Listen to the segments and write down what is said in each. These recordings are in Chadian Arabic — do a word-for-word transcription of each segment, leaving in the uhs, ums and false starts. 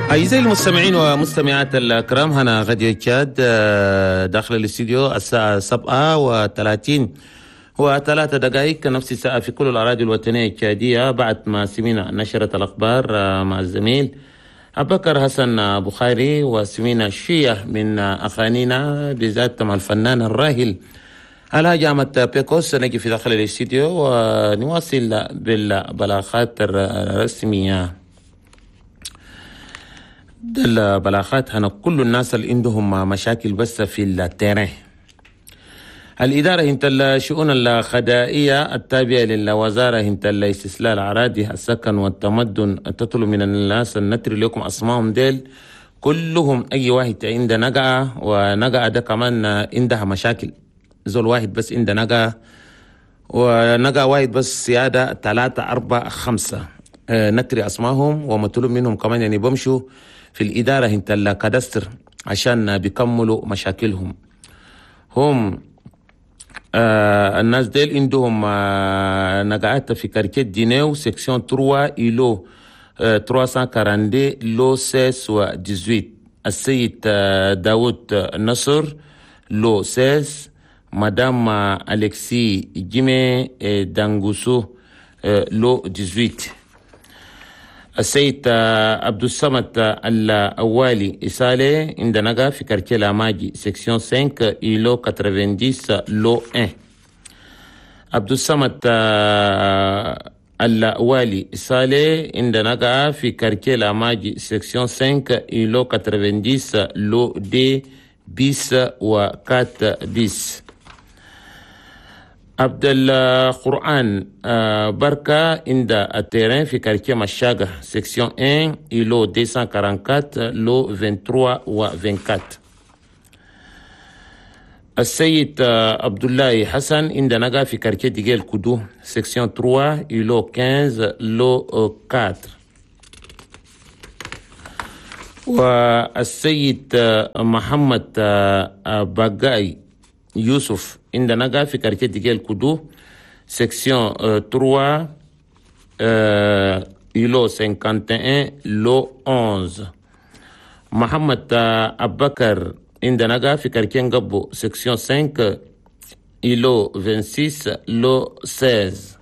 أعزائي المستمعين ومستمعات الكرام، هنا راديو تشاد داخل الاستديو الساعة سبعة وثلاثين وثلاثة دقائق، نفس الساعة في كل الأراضي الوطنية التشادية. بعد ما سمعنا نشرة الأخبار مع الزميل أبو بكر حسن بخاري، وسمعنا شوية من أغانينا بالذات مع الفنان الراحل الحاج أحمد بيكوس، نجي في داخل الاستديو ونواصل بالبلاغات الرسمية. البلاغات هنا كل الناس اللي عندهم مشاكل بس في ال terrain. الإدارة هنت الشؤون الخدائية التابعة للوزارة هنت الاستصلاح الأراضي، السكن والتمدن تطلب من الناس النتري لكم أسمائهم ديل كلهم. أي واحد عنده نقعة، ونقعة ده كمان عندها مشاكل، زول واحد بس عنده نقعة، ونقعة واحد بس سيادة ثلاثة أربعة خمسة، نتري أسمائهم. ومطلوب منهم كمان يعني بمشوا في الإدارة هنت ال cadastre عشان بيكملوا مشاكلهم هم. آه الناس ديل عندهم آه نقعات في quartier دينيو، section ثلاثة، îlot آه ثلاثمية واثنين وأربعين، lot ستة عشر و ثمانية عشر. السيد آه داود نصر، lot ستة عشر. مدام أليكسي جيمي آه دانغوسو، آه lot ثمانية عشر. السيد عبد الصمد الأوالي إسالي عند نقا في quartier لاماجي، section خمسة، îlot تسعين، lot واحد. عبد الصمد الوالي إسالي عند نقا في quartier لاماجي، section خمسة، îlot تسعين، lot deux bis و quatre bis. عبد القرآن بركة عند ال terrain في quartier مشاقة، section واحد، îlot مئتين وأربعة وثلاثين، lot ثلاثة وعشرين و أربعة وعشرين. السيد عبد الله حسن عند نقا في quartier ديجيل كودو، section ثلاثة، îlot خمسة عشر، lot أربعة. والسيد محمد بقاي يوسف عند نقا في quartier ديجيل كودو، section ثلاثة، îlot واحد وخمسين، lot إحدى عشر. محمد أبكر عند نقا في quartier نقبو، section خمسة، îlot ستة وعشرين، lot ستة عشر.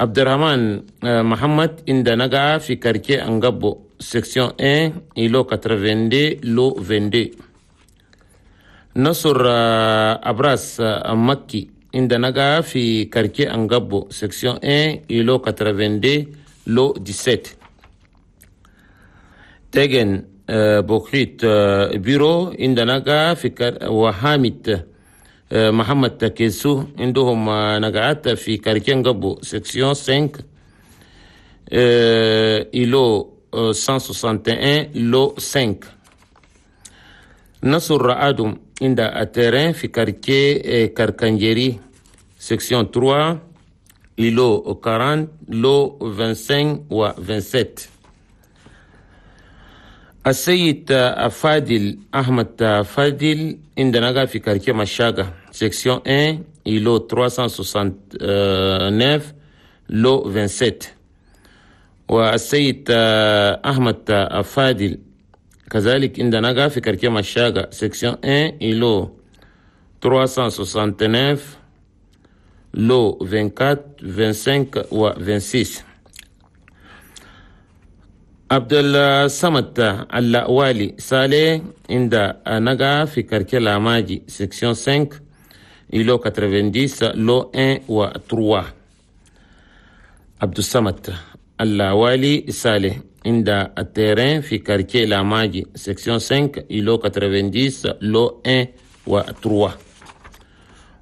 عبد الرحمن محمد عند نقا في quartier أنقبو، section واحد، îlot اثنين وثمانين، lot اثنين وعشرين. نصر أبراس مكي عند نقا في quartier أنقبو، section واحد، îlot اثنين وثمانين، lot سبعة عشر. تيجن بوكريت بيرو عند نقا في كار وحامد محمد تكيسو عندهم نقعات في quartier أنقبو، section خمسة، îlot مية وواحد وستين، lot خمسة. نصر آدم عند ال terrain في quartier كركنجيري، section ثلاثة، îlot أربعين، lot خمسة وعشرين و سبعة وعشرين. السيد فادل أحمد فادل عند نقا في quartier مشاقة، section واحد، îlot ثلاثمية وتسعة وستين، lot سبعة وعشرين. والسيد أحمد فادل كذلك عند نقا في quartier مشاقة، section واحد، îlot ثلاثمية وتسعة وستين، lot أربعة وعشرين، خمسة وعشرين و ستة وعشرين. عبد الصمد اللأوالي صالح عند نقا في quartier لاماجي، section خمسة، îlot تسعين، lot واحد و ثلاثة. عبد الصمد اللوالي صالح عند ال terrain في quartier لاماجي، section خمسة، îlot تسعين، lot واحد و ثلاثة.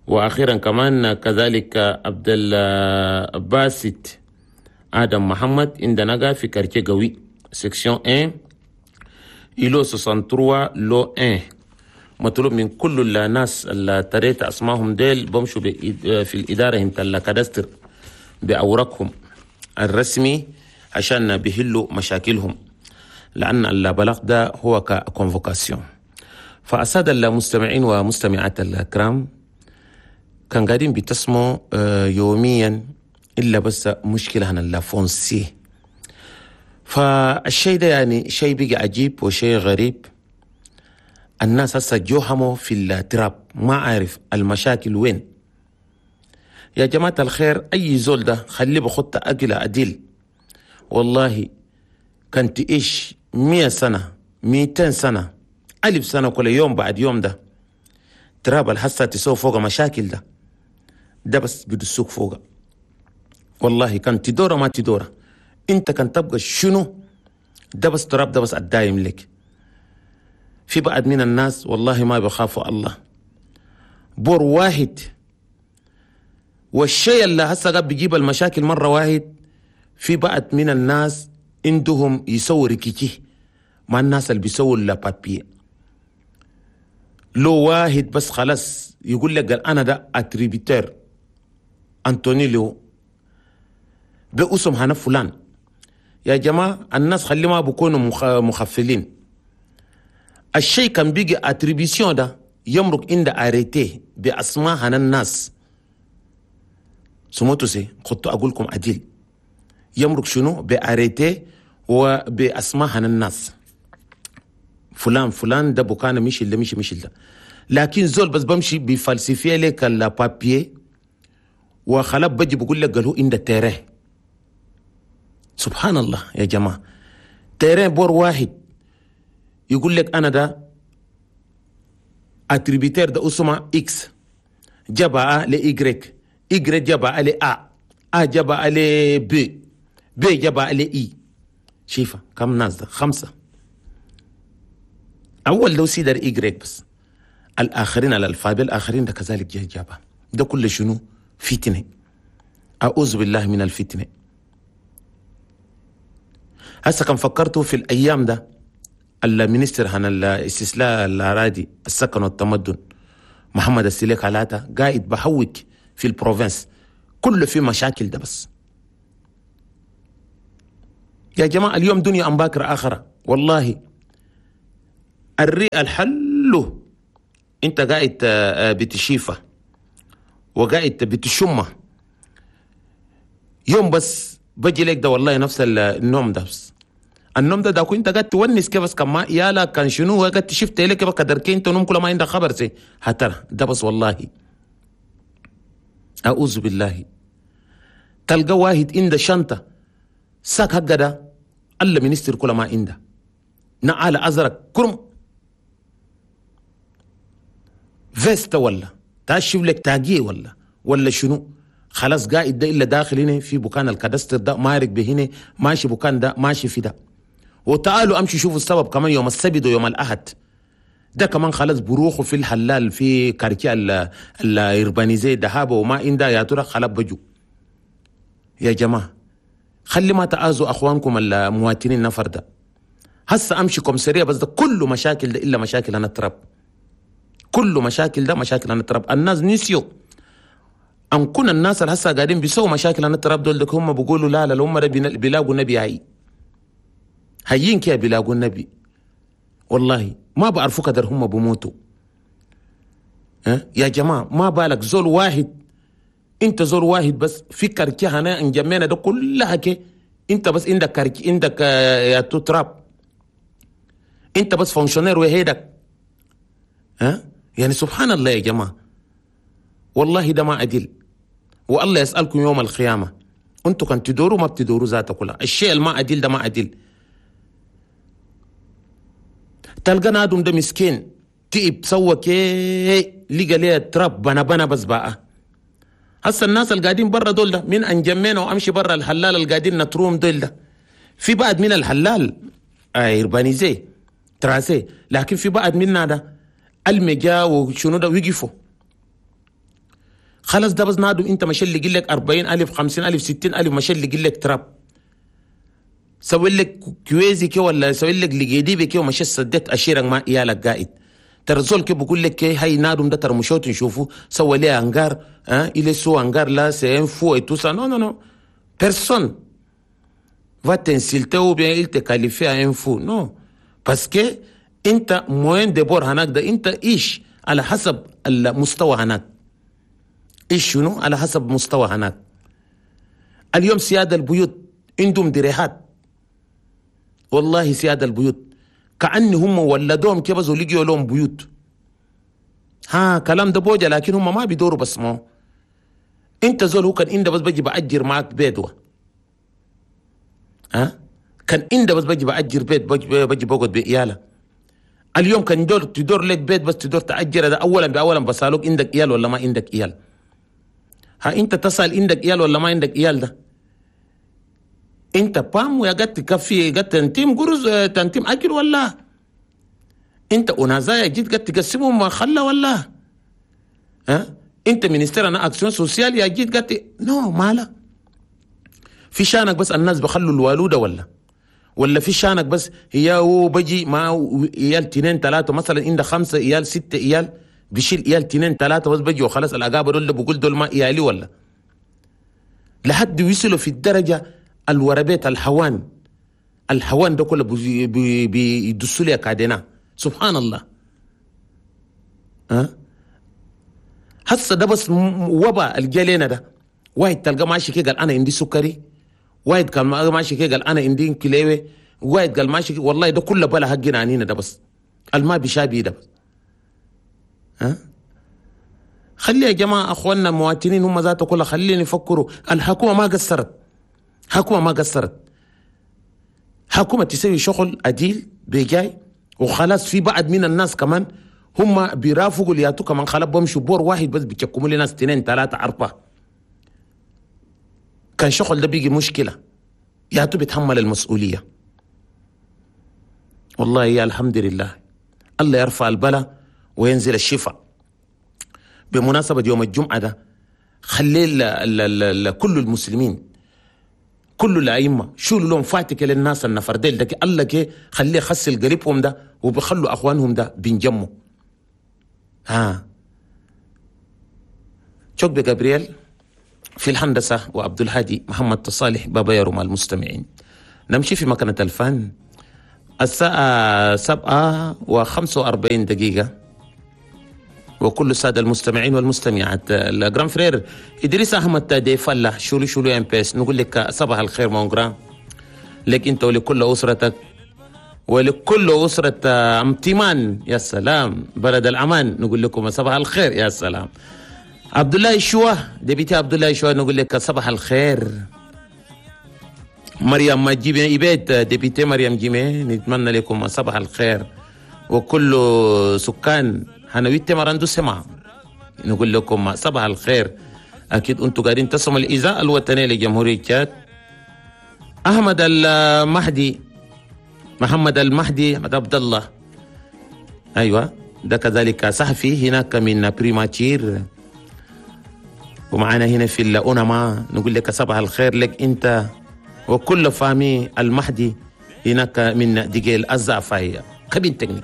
وأخيرا كمان كذلك عبد الباسط آدم محمد عند نقا في quartier قوي، section واحد، îlot ثلاثة وستين، lot واحد. مطلوب من كل الناس اللي تريت أسمائهم ديل بمشوا في الإدارة هنت ال cadastre بأوراقهم الرسمي عشان بيحلوا مشاكلهم، لأن البلاغ ده هو ك convocation. فأسادة المستمعين ومستمعات الكرام، كان قاعدين بتسمعوا يوميا إلا بس مشكلة هنا ال foncier. فالشيء ده يعني شيء بقى عجيب وشيء غريب. الناس هسه جوهموا في التراب، ما عارف المشاكل وين. يا جماعة الخير، أي زول ده خليه بخط أقل أديل. والله كنت إيش مية سنة، ميتين سنة، ألف سنة، كل يوم بعد يوم ده تراب الحسة تسوي فوق مشاكل ده ده بس بدسوك فوق. والله كان تدورة ما تدورة، انت كان تبقى شنو ده بس تراب ده بس الدايم لك. في بعض من الناس والله ما بيخافوا الله، بور واحد. والشيء اللي هسه قاعد بيجيب المشاكل مرة واحد، في بعض من الناس عندهم يسووا ركيكي مع الناس اللي بيسووا les papiers. لو واحد بس خلاص يقول لك قال انا ده attributaire انتوني لو باسم هنا فلان. يا جماعة الناس خلي ما بيكونوا مخفلين. الشيء كان بيجي attribution ده يمرق عند arrêté باسماء هنا الناس. سموتو سي كنت اقول لكم عديل، يمرق شنو ب arrêté وباسماء هنا الناس، فلان فلان ده بكان مش ده مش مش ده. لكن زول بس بمشي ب falsifier لك ال papier وخلاب بجي بقول لك قالوا عند terrain. سبحان الله يا جماعة، terrain بور واحد يقول لك انا ده attributaire ده اسمه X جابها ل Y، Y جابها ل A، A جابها ل B، B جابها ل I. شايفه كم ناس ده؟ خمسة. اول لو سيدر Y بس، الاخرين ال alphabet الاخرين ده كذلك جه جابها. ده كله شنو؟ فتنة. اعوذ بالله من الفتنة. هسه كان فكرتوا في الايام ده ال ministre هنا الاستصلاح الاراضي السكن والتمدن محمد السليك علاتا قاعد بحوك في ال province كله في مشاكل ده بس. يا جماعة اليوم دنيا أم باكر آخرة. والله الرئة الحلو انت قاعد بتشيفة وقاعد بتشمه يوم بس بجي لك ده والله نفس النوم ده بس. النوم ده ده انت قاعد تونس كيف بس كما يالا كان شنو قاعد تشفت لك كيف قدر انت نوم كل ما عندك خبر سي هترى ده بس. والله اعوذ بالله. تلقى واحد عنده شنطه sac حق ده الله ministre كل ما عنده نعال ازرق كرم veste ولا تاشف لك تاجي ولا ولا شنو خلاص قاعد ده الا داخل هنا في بكان ال cadastre ده مارق بهنا ماشي بكان ده ماشي في ده. وتعالوا امشي شوفوا السبب كمان يوم السبت ويوم الاحد ده كمان خلاص بروحه في الحلال في quartier ال urbanisé دهابه وما عنده يا ترى خلاص بجو. يا جماعة خلي ما تآذوا اخوانكم المواطنين نفر ده. هسه امشي commissariat بس ده كله مشاكل ده الا مشاكل انا التراب. كله مشاكل ده مشاكل انا التراب. الناس نسيوا ان كنا الناس اللي هسه قاعدين بيسووا مشاكل انا التراب دول هم بيقولوا لا لا هم بيلاقوا النبي هاي هيين كيا بيلاقوا النبي. والله ما بعرفوا قدر هم بموتوا. أه؟ يا جماعة ما بالك زول واحد، انت زول واحد بس في quartier هنا انجمينا ده كلها كي انت بس عندك quartier عندك يا تراب انت بس fonctionnaire وهيدك. ها أه؟ يعني سبحان الله يا جماعة والله ده ما عدل. والله يسالكم يوم القيامة انتوا كان تدوروا ما بتدوروا ذاته كلها. الشيء الما عدل ده ما عدل. تلقى نادم ده مسكين تئب سوى كي لقى ليه تراب بنا بنا بس بقى. هسه الناس اللي قاعدين برا دول ده من انجمينا وامشي برا الحلال اللي قاعدين نتروم دول ده في بعد من الحلال urbanisé tracé، لكن في بعد منا ده المجا وشنو ده وقفوا خلاص. ده بس نادم انت مش اللي لك أربعين ألف خمسين ألف ستين ألف مش اللي لك تراب سوي لك كويزي كي ولا سوي لك لقيدي بكي ومش سديت اشيرك ما إيالك قائد. ترى زول كي بقول لك كي هاي نادم ده ترى مشوت نشوفه سوى ليه انغار ها il est sous hangar là c'est un fou et tout ça. Non non non, personne va t'insulter ou bien il te qualifie à un fou. Non, parce que انت moyen de bord هناك ده انت ايش على حسب المستوى هناك. ايش شنو على حسب مستوى هناك. اليوم سيادة البيوت عندهم دريهات والله سياد البيوت كأن هم ولدوهم كيف بس لقيوا لهم بيوت. ها كلام ده بوجه، لكن هم ما بيدوروا بس ما انت زول هو كان انت بس بجي بأجر معك بيت، ها كان انت بس بجي بأجر بيت، بجي, بجي بقعد بإيالة. اليوم كان دور تدور لك بيت بس تدور تأجر ده اولا باولا بسالوك عندك إيال ولا ما عندك إيال. ها انت تسأل عندك إيال ولا ما عندك إيال ده انت بام ويا قد تكفي قد تنتيم قرز تنتيم اكل ولا انت ونازايا جيت قد تقسمهم ما خلى ولا ها انت ministère هنا action sociale يا جيت قد non مالا في شانك بس الناس بخلوا الوالوده ولا ولا في شانك بس هي هو بجي مع عيال تنين ثلاثة مثلا عند خمسة عيال ستة عيال بيشيل عيال تنين ثلاثة بس بجي وخلاص الاقابه دول بقول دول ما عيالي ولا لحد وصلوا في الدرجة الوربيت الحوان الحوان ده كله بيدسوا لي كادنا. سبحان الله. ها هسه ده بس وباء الجالينا ده واحد تلقى ماشي كده قال انا عندي سكري، واحد قال ماشي كده قال انا عندي كليوه، واحد قال ماشي والله ده كله بلا حقنا عنينا ده بس الما بيشابي ده بس. ها خلي يا جماعة اخواننا المواطنين هم ذاته كلها خلينا يفكروا. الحكومة ما قصرت، حكومة ما قصرت، حكومة تسوي شغل عديل بجاي وخلاص. في بعض من الناس كمان هم بيرافقوا لياتو كمان خلاص بمشوا بور واحد بس بيتشكموا لي ناس اثنين ثلاثة أربعة. كان شغل ده بيجي مشكلة ياتو بيتحمل المسؤولية. والله يا الحمد لله الله يرفع البلاء وينزل الشفاء. بمناسبة يوم الجمعة ده خلي ال ال ال كل المسلمين كل الأئمة شولوا لهم فاتك للناس النفرديل ده الله كي خليه يخسل قريبهم ده وبخلوا أخوانهم ده بينجموا. ها شوك بجابرييل في الهندسة وعبد الهادي محمد تصالح بابا يا المستمعين. نمشي في مكنة الفن الساعة سبعة وخمسة وأربعين دقيقة وكل السادة المستمعين والمستمعات ال grand frère إدريس أحمد دي فلا شولو شولو ام بيس نقول لك صباح الخير mon grand لك أنت ولكل أسرتك ولكل أسرة امتمان. يا سلام بلد الأمان نقول لكم صباح الخير. يا سلام عبد الله شوا député عبد الله شوا نقول لك صباح الخير. مريم جيمي إبيت député مريم جيمي نتمنى لكم صباح الخير وكل سكان هنويت مراندو سمع نقول لكم صباح الخير. أكيد أنتم قاعدين تسمعوا الإذاعة الوطنية لجمهورية تشاد. أحمد المهدي محمد المهدي أحمد عبد الله أيوة ده كذلك صحفي هناك من primature ومعنا هنا في الأونما نقول لك صباح الخير لك أنت وكل famille المهدي هناك من ديجيل الزعفاية cabine technique.